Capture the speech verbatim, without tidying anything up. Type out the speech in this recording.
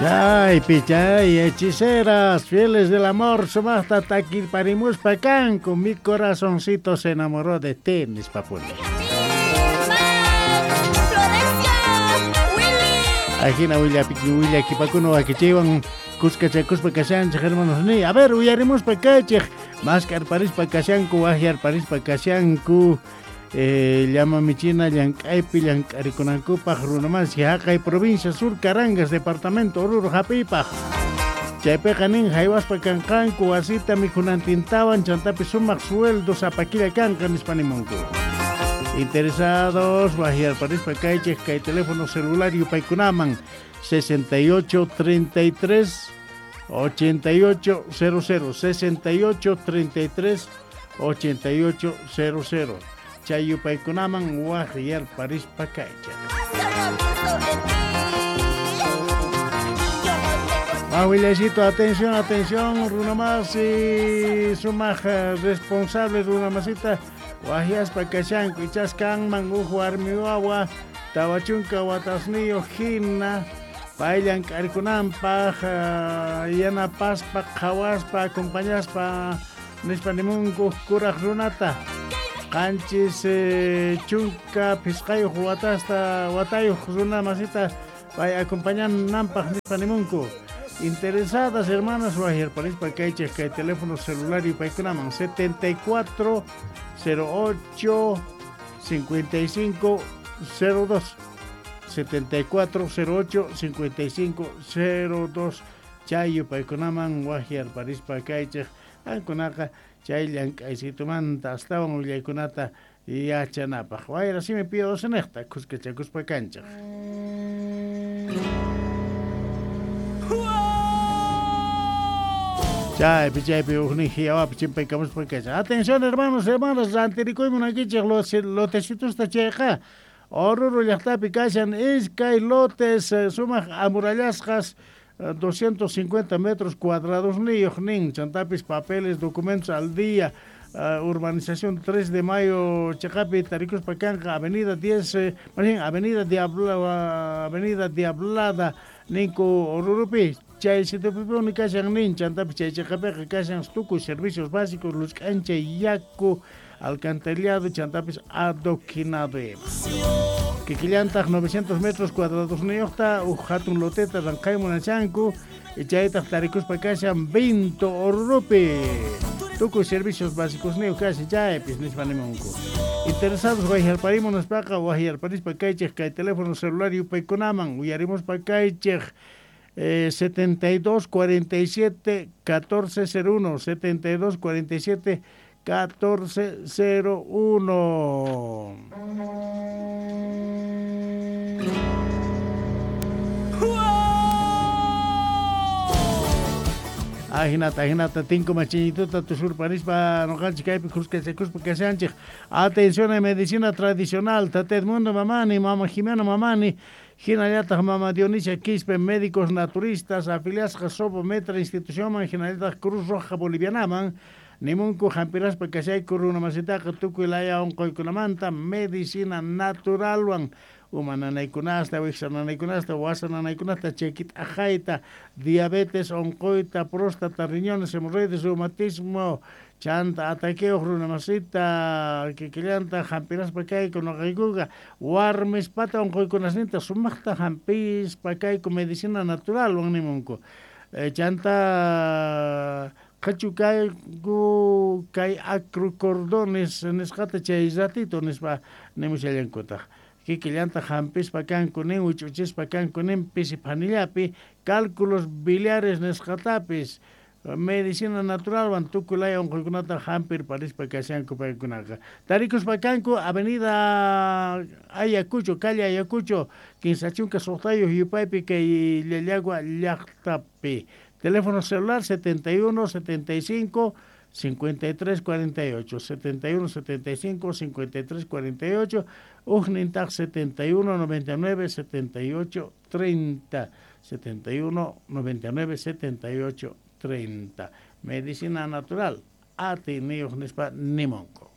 Chaypi chay hechiceras, fieles del amor, sumaqta takirparimuspa kanku, mi corazoncito se enamoró de ti, nispapuni. Ajina willakipakuna wakichiywan kuskachakuspa kashanchej hermanos ni. A ver, uyarimuspa kaychej, maskarparispa kashanku, wajyarparispa kashanku. Eh, llama michina llank'aypi llank'arikunankupaq runamasi haqay provincia Sur Carangas departamento Oruro hap'iypaq chaypiqa nin haywaspa kanqanku wasita mikhunantintawan chantapi sumaq sueldo sapakilla kanqa nispa nimunku. Interesados wajyarparispa kaychej kay teléfono celular yupaykunaman sesenta y ocho treinta y tres ochenta y ocho cero cero sesenta y ocho treinta y tres ochenta y ocho cero cero chay yupaykunaman wajyarparispa kaychej. Willaycito, atención, atención, runamasi, sumaq responsable runamasita, wajyaspa kashanku, ichas kanman uj warmi wawa, tawa chunka watasniyuq hina, pay llank'arikunanpaq, yanapaspa, qhawaspa, acompañaspa, nispa nimunku kuraq runata. Qanchis chunka phisqayuq watasta watayuq runamasita pay acompañananpaq nispa nimunku. Interesadas hermanas wajyarparispa kaychej kay teléfono celular yupaykunaman setenta y cuatro cero ocho cincuenta y cinco cero dos setenta y cuatro cero ocho cincuenta y cinco cero dos chay yupaykunaman wajyarparispa kaychej qankunaqa chay llank'aysitumanta astawan willaykunata yachanapaq. Wayra simi pío doce nejta kuskachakuspa kanchej. Chaypi chaypi ujnin hiyawapi chimpaykamuspa kaychej. Atención hermanos, hermanas, rantirikuymun akichej los lotecitosta chayqa. Oruro llaqtapi kashan iskay lotes sumaq amurallasqas doscientos cincuenta metros cuadrados niyuq nin, chantapis papeles, documentos al día, uh, urbanización tres de mayo chaqapi tarikuspa kanqa avenida diez, eh, más bien avenida Diabla, uh, avenida Diablada ninku Orurupi, chay situpipuni kashan nin, chantapis chay chaqapiqa kashan tukuy servicios básicos, luz k'ancha, yaku, alcantarillado, chantapis adoquinado ima. Kikillantaq novecientos metros cuadrados niyuqta uj hatun loteta ranqay munachanku chaytaq tarikuspa kashan Vinto Orurupi. Tukuy servicios básicos niyuq kashan chaypis nispa nimunku. Interesados wajyarparimun nispaqa wajyarparispa kaychej kay teléfono celular yupaykunaman uyarimuspa kaychej eh, setenta y dos cuarenta y siete catorce cero uno setenta y dos cuarenta y siete catorce cero uno. Ajinata, ajinata, tinko machiñituta tusurparispa noqanchik kaypi kuskachakuspa kashanchik. Atención en medicina tradicional, Tata Edmundo Mamani, Mama Jimena Mamani, hinallataq Mama Dionisia Quispe, médicos naturistas, afiliasqa Sobo Metra institucionman, hinallataq Cruz Roja Bolivianaman, nimunku hampiraspa kashayku runamasitaqa tukuy laya unquykunamanta medicina naturalwan uma nanaykunasta, wiksa nanaykunasta, wasa nanaykunasta, chakit'aqayta, diabetes unquyta, próstata, riñones, hemorroides, reumatismo, chanta ataqueuq runamasita, kikillanta hampiraspa kayku noqaykuqa, warmispata unquykunasninta sumaqta hampispa kayku medicina naturalwan nimunku. Eh, chanta qhachu kayku kay acrocordones nisqata chay ratito nispa nimushallankutaq. Kikillanta hampispa kanku nin, wich'uchispa kanku nin, pisi phanillapi, cálculos biliares nisqatapis, medicina naturalwan tukuy laya unquykunata hampirparispa kashanku paykunaqa. Tarikuspa kanku avenida Ayacucho, calle Ayacucho, kinsa chunka suqtayuq yupaypi kay Llallagua llaqtapi. Teléfono celular setenta y uno setenta y cinco cincuenta y tres cuarenta y ocho, setenta y uno setenta y cinco cincuenta y tres cuarenta y ocho, ujnintaq setenta y uno noventa y nueve setenta y ocho treinta, setenta y uno noventa y nueve setenta y ocho treinta. Medicina natural, ati niyuq nispa nimunku.